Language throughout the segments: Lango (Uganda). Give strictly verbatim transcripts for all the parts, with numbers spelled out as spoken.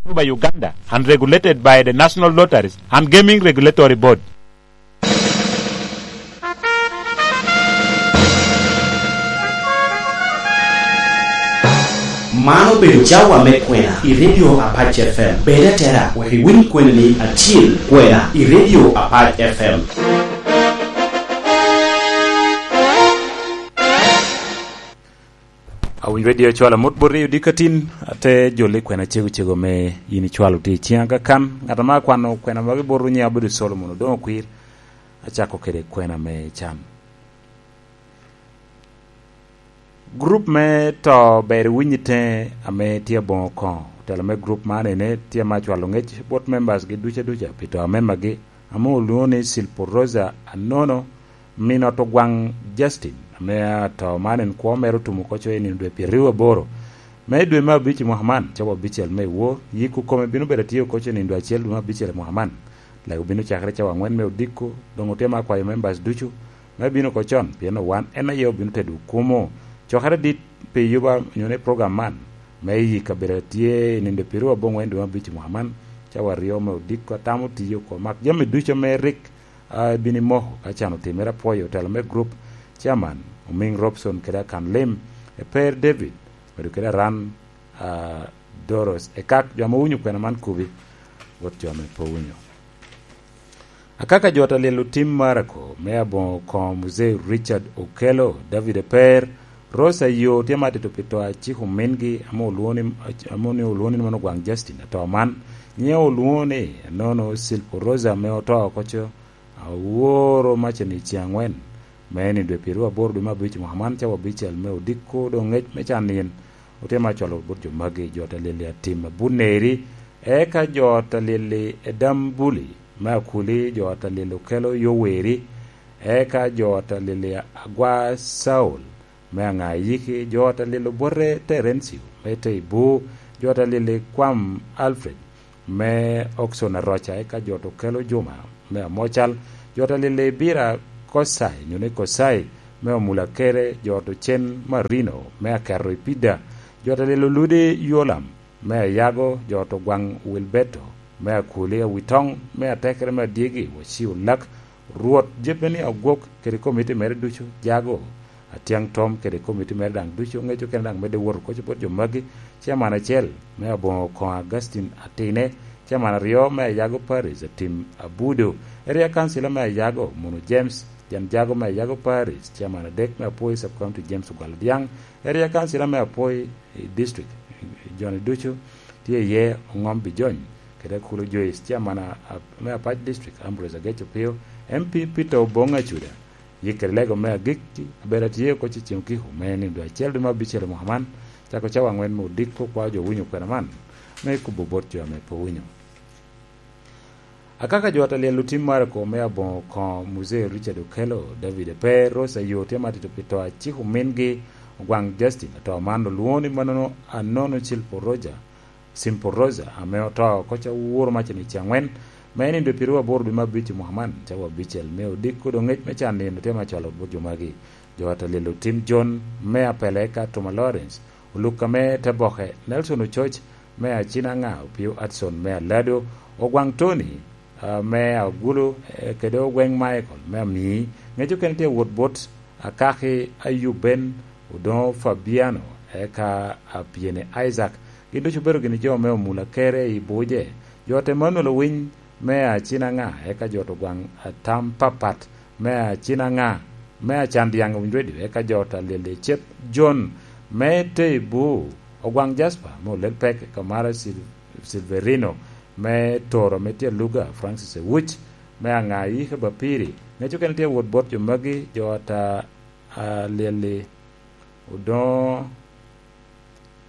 Manitoba, Uganda, and regulated by the National Lotteries and Gaming Regulatory Board. Man obedo cawa me kwena i Radio Apac F M. Bed atera wek iwiny kwenani acil, kwena i Radio Apac F M. Awinyo Radio cwalo amut bot riyo dikatin, ate jolo i kwena cego cego me yin icwalo tye i ciŋa kakan. Ŋat ame akwano kwena magi bot nyiŋe obedo Solomon Odoŋo Kwir. Acako kede kwena me can. Gurup me to ber iwiny i teŋe ame tye aboŋo koŋo. Otelo me gurup man ene tye ame acwalo ŋec bot members gi duca duca pi to a memagi, ame olwoŋo ni Silpo Rosa Anono, min ot ogwaŋ Justin, ame ato man en kwo mere otumo oko coc i nino dwe pyeraryo aboro me dwe me abic i mwaka man, cawa abicel me wor. Yiko kome bino bedo atye oko coc i nino dwe acel dwe me abicel i mwaka man. Lego bino cakere cawa aŋwen me odiko, doŋ otye me akwayo members ducu me bino oko con, pien wan en aye obino tedo okumo. Cokere dit pi yuba onyo ni program man me yik kabedo atye i nino dwe pyeraryo aboŋwen dwe me abic i mwaka man, cawa aryo me odiko atamo tiyo oko, mak jami ducu ame rik a, bino i moko ka can otimere. Apwoyo otelo me gurup, Chairman Omiŋ Robson kede akan lim, Eper David, medo kede Aran, a, Doros, Ekak, jo ame owinyo kwena man kubi, bot jo ame pe owinyo. Akaka jo ata lyel otim Marako, me aboŋo koŋo Muzee Richard Okello, David Eper, Rosa yo tye ma atito pi to a ciko omingi, ame olwoŋo ni, ame ni olwoŋo ni mano ogwaŋ Justin ato man. Nyiŋe olwoŋo ni, Anono Silpo Rosa ame oto oko co, aworo macani i ceŋ aŋwen, me ni dwe pyeraryo aboro dwe me abic mwaka man, cawa abicel me odiko, doŋ ŋec me can nino. Otye ma acwalo bot jo magi, jo ata lyel i atim abunneri, eka jo ata lyel i Edambuli me Akuli, jo ata lyel Okello Yoweri, eka jo ata lyel i Agwa Saul, me aŋa iyiki, jo ata lyel Obote Terencio, me te i Bur, jo ata lyel i Kwam Alfred, me Okson Aroca, eka jo ata Okello Juma, me Amocal, jo ata lyel i Bira Kosai, nyo ni Kosai, me Omula Kere, jo ata Ocen Marino, me Aketo i Pida, jo ata lyel Oludi Yolam, me Ayago, jo ata Ogwaŋ Wilberto, me Akuli Awitoŋ, me Atekere me Adyegi, Waciu Lak, Rwot jebbe ni agwok kede komiti mere ducu, jago, Atyaŋ Tom kede komiti mere daŋ ducu, ŋec okene daŋ medde wot oko bot jo magi, Chairman acel me aboŋo koŋo Augustine Atine, Chairman aryo me Ayago Parish Atim Abudo, Area Councilor me Ayago Munu James, jan jago me Ayago Parish, Chairman adek me Apwoi Sub County James Ogwal Odyaŋ, Area Councilor me Apwoi i District, joni ducu tye iye Oŋom Bijony, kede Akulu Joyce, Chairman a, a, me Apac District, Ambrose Agec Opio, M P Peter Oboŋ Acuda, yik kede lego me agikki, abedo atye oko i ceŋ okiko me nino dwe acel dwe me abicel i mwaka man, cako cawa aŋwen me odiko, kwao jo winyo kwena man, me kubo bot jo ame pe owinyo. Akaka jo ata lyel otim Marako me aboŋo koŋo Muzee Richard Okello, David Eper, Rosa yo tye ma atito pi to a ciko omingi, Ogwaŋ Justin, ato man olwoŋo ni manono Anono Silpo Roja, Simple Rosa, ame oto oko ca woro macani i ceŋ aŋwen, me nino dwe pyeraryo aboro dwe me abic i mwaka man, cawa abicel me odiko, doŋ ŋec me can nino tye ma cwalo bot jo magi. Jo ata lyel otim John me Apele ka Toma Lawrence, Oluk ame te boke, Nelson Ococ me Acinaŋa, Opio Hudson me Alado, Ogwaŋ Tony, ah, me Agulu, eh, kede Ogweŋ Michael me Amii, ŋec okene tye wot bot Akaki Ayuben, Odoŋo Fabiano, eka Apyeni Isaac. Gin ducu obedo gini jo me Omula Kere i Buje. Jo ata Emmanuel Owiny me Acinaŋa, eka jo ata Ogwaŋ Atam Papat me Acinaŋa, me Acandyaŋ Owiny Radio, eka jo ata Lyel Ecep John me Teibu, Ogwaŋ Jasper me Olel Pek, eka Mara Sil-, Silverino me Toro me Tye Aluga, Francis Ewuc me Aŋa Yike Bapiri. Ŋec okene tye wot bot jo magi, jo ata, a, Lyel Odoŋo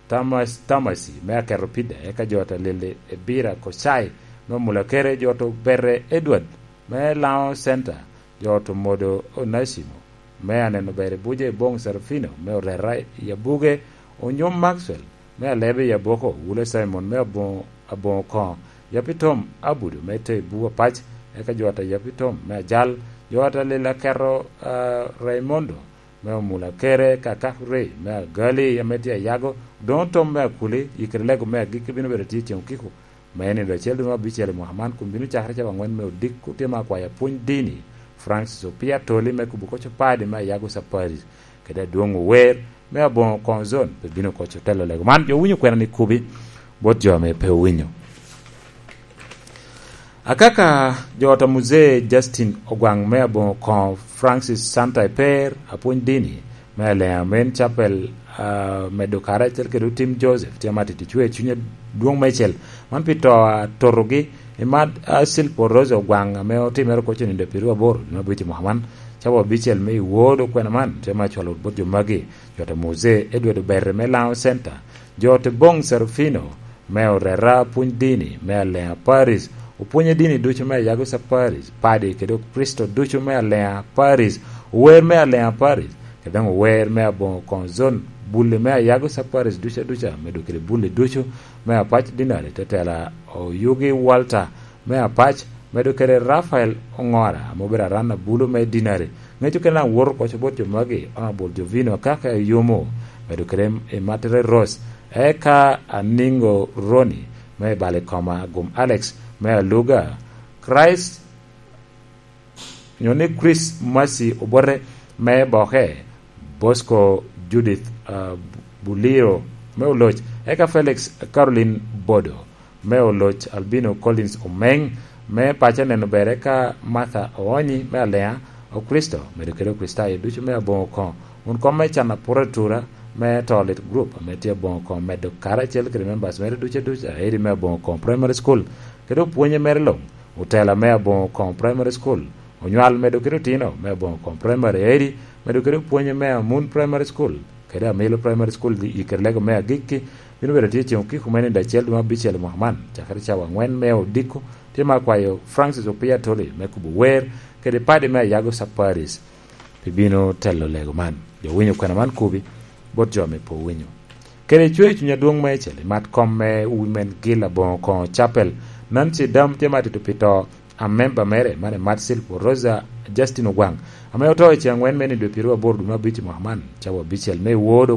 Tamas-, Tamasi me Aketo Pida, eka jo ata Lyel Ebira Kocai me Omula Kere, jo ata Obere Edward me Laŋo Center, jo ata Omodo Onasimo me Aneno Ber i Buje, Boŋ Serafino me Orera i Abuge, Onyom Maxwell me Alebe i Aboko, Wule Simon me Aboŋo, Aboŋo Koŋo, Yapi Tom Abudu me Teibu Apac, eka jo ata Yapi Tom me Ajal, jo ata Lyel Aketo, ah, Raimondo me Omula Kere, Kakak Ray me Agali ame tye Ayago, Odoŋo Tom me Akuli, Yikere Lego me Agikki bino bedo tye i ceŋ okiko, Me nindo acel dwe me abicel i mwaka man, kun bino cakere cawa angwen me odiko, tye me akwayo apwony dini, Francis Opia Toli, me kubo koc opadi me Ayago Saparis, kede adwoŋ ower me aboŋo koŋ zon, pe bino koc otelo lego man. Jo owinyo kwena ni kubi bot jo ame pe owinyo. Akaka jo ot a Muzee Justin Ogwaŋ me aboŋo koŋo Francis Santa Eper, apwony dini me Alea Men Chapel, ah, medo kare acel kede Otim Joseph, tye ma tito cwer cuny adwoŋ meicel. Man pi to a totogi, i mad, ah, Silpo Rose Ogwaŋ ame otimere oko cenindo pirwa aboro, dwe me abicel i mwaka man, cawa abicel me i wod okwena man, tye ma cwalo bot jo magi, jo ot a Muzee Edward Obere me Laŋo Center, jo ot Boŋ Serafino, me oreta pwony dini me Alea Paris, opwonye dini ducu me Ayago Saparis, padi kede Okricito ducu me Alea Paris, ower me Alea Paris, kede daŋ ower me aboŋo koŋ zon, bulli me Ayago Saparis ducu aduca, medo kede bulli ducu me apac dinari, tetela Oyugi Walter me apac, medo kede Rafael Oŋora, ame obedo aran abulu me dinari, ŋeco kede daŋ woto koc bot jo magi, Honorable Jovino Akaka Eyomo, medo kede Imatere Rose, eka Aningo Roni, me Balikoma, Agum Alex, me Aluga, Christ, nyo ni Chris Mercy Obote, me Boke, Bosco Judith, ah, Buliro, me Oloc, eka Felix Caroline Bodo, me Oloc, Albino Collins Omeng, me paco neno bere ka Martha Oonyi me Alea, Okristo, medo kede Okricitayo ducu me aboŋo koŋo, wun kom me can apura atura me to lit group ame tye aboŋo koŋo medo kare acel kede members mere ducu aduca, aeri me aboŋo koŋo primary school, kede opwonye mere luŋ, otela me aboŋo koŋo primary school, onywal medo kede otino me aboŋo koŋo primary aeri, medo kede opwonye me Amun Primary School, kede Amilo Primary School, i kede lego me agikki, bino bedo tye ceŋ okiko me nino acel dwe me abicel i mwaka man, cakere cawa angwen me odiko, tye ma akwayo Francis Opia Toli me kubo wer, kede padi me Ayago Saparis, pi bino telo lego man. Jo winyo kwena man kubi, bot jo ame pe owinyo. Kede cwer cuny adwoŋ meicel, i mat kom me Women Guild aboŋo koŋo Chapel, Nancy Dam tye ma tito pi to, a member mere, mane Marcel Rosa Justin Ogwaŋ, ame oto i ceŋ angwen me nino dwe pyeraryo aboro dwe me abic i mwaka man, cawa abicel me i wor